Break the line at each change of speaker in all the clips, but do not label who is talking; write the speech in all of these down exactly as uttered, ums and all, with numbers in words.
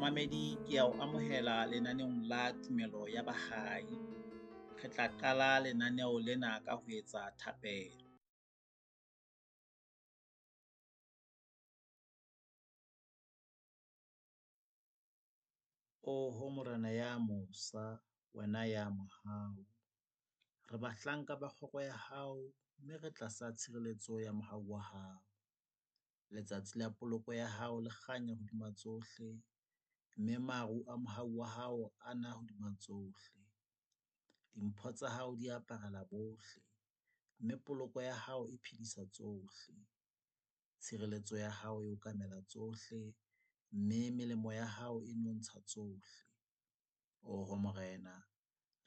Momamedi ke ya o amohela lenaneong la tumelo ya bahai. Re tla qala lenaneo lena ka ho etsa thapelo. Oho Morena ya mosa, wena ya mohau. Re bahlanka ba kgoro ya hao, mme re tlasa tshireletso ya mohau wa hao. Letsatsi la poloko ya hao le kganya hodima tsohle, mme maru a mohau wa hao a na hodima tsohle. Dimpho tsa hao di aparela bohle, mme poloko ya hao e phedisa tsohle. Tshireletso ya hao e okamela tsohle, mme melemo ya hao e nontsha tsohle. Oho Morena,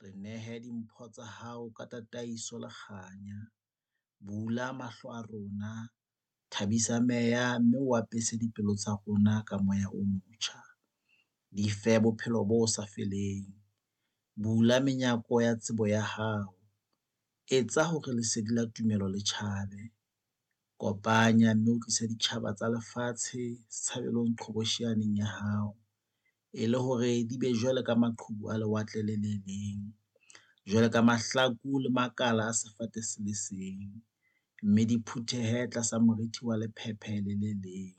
re nehe dimpho tsa hao ka tataiso le kganya. Bula mahlo a rona, thabisa meya, mme o apese dipelo tsa rona ka moya o motjha. Di fe bophelo bo sa feleng. Bula menyako ya tsebo ya hao. Etsa hore lesedi la tumelo le tjhabe. Kopanya mme o tlise ditjhaba tsa lefatshe setshabelong qhobosheaneng ya hao. E le hore di be jwalo ka maqhubu a lewatle le le leng. Jwalo ka mahlaku le makala a sefate se le seng. Mme di phuthehe tlasa moriti wa lephephe le le leng.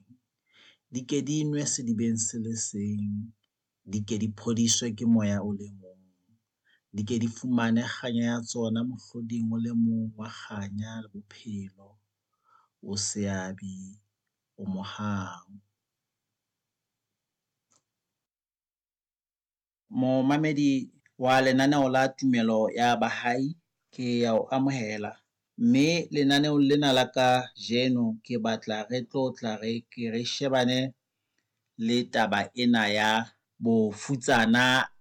Di ke di nwe sedibeng se le seng, di ke di phodiswe ke moya o le mong. Di ke di fumane kganya ya tsona mohloding o le mong wa kganya le bophelo. O seabi, o mohau. Momamedi wa lenaneo la tumelo ya bahai, ke ya o amohela. Mme lenaneong lena la kajeno ke batla re tlotla re ke re shebane le taba ena ya bofutsana.